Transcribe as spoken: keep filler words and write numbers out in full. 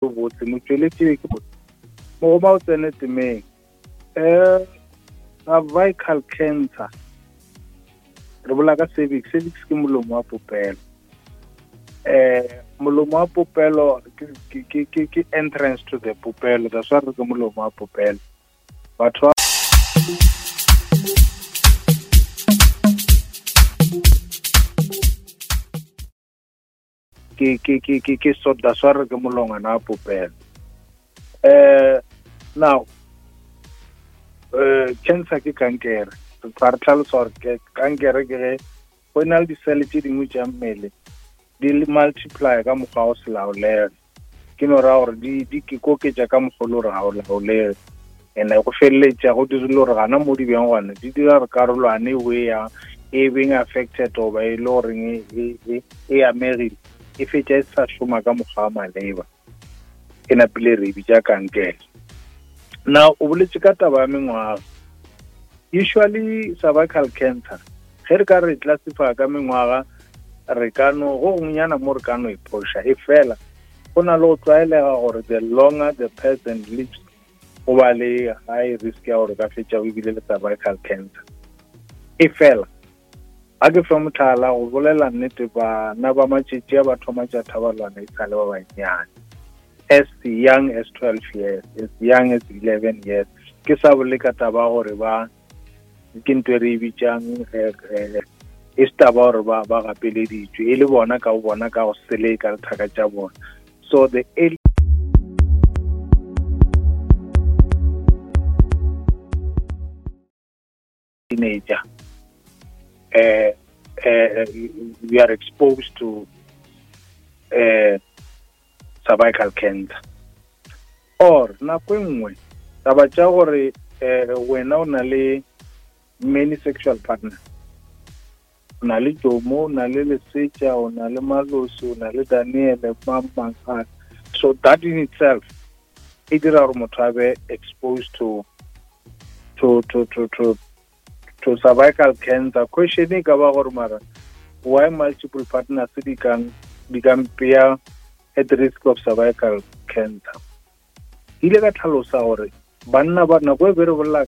Botse motšweletši ke mogoma o tsene temeng. um Cervical cancer, re bola ka cervix. Cervix ke molomo wa popelo. um Molomo wa popelo ke ke ke ke entrance to the popelo, that's why re ke molomo wa popelo. Batho ba ke ke ke ke ke so that's why re ke molongwana wa popelo. um Now uh cancer ke kankere. Re tla re tlhalosa gore ke kankere ke ge go na le disele tše dingwe tša mmele di le multiply ka mokgwa wa go se laolege. Ke no ra gore di di ke koketša ka mokgwa o le gore ga o laolege, and go feleletša go dirile gore gana mo di beng gona di dira gore karolwane e ya e beng affected goba e le goreng e e e amegile, e fetša e sa šoma ka mokgwa wa maleba, e napile re e bitša kankere. Now o boletše ka taba ya mengwaga. Usually cervical cancer ge re ka re classify ka mengwaga, re ka no go gongwenyana mo re ka no e phoša, e fela go na le go tlwaelega gore the longer the person lives go ba le high risk ya gore ka fetša o ebile le cervical cancer. E fela ga ke fe motlhala, go bolela nnete, bana ba matšatši a ba thoma tša thabalwana e sa le ba bannyane, as young as twelve years, as young as eleven years. Ke sa bole ka taba gore ba ke ntho e re e bitšang e se taba gore ba ba gapeleditšwe, e le bona ka go bona ka go seleka le thaka tša bona. So the early teenager, uh, uh, we are exposed to uh, cervical cancer. Or nako e nngwe taba tša gore uh, wena o na le many sexual partner, o na le Jomo, o na le Lesetša, o na le Malosi, o na le Daniele, mang mang mang. So that in itself e dira gore motho a be exposed to to to to to to cervical cancer. Question e ka ba gore mara why multiple partners di kang di ka mpea at risk of cervical cancer? Ke ile ka tlhalosa gore banna ba nako e be re bolela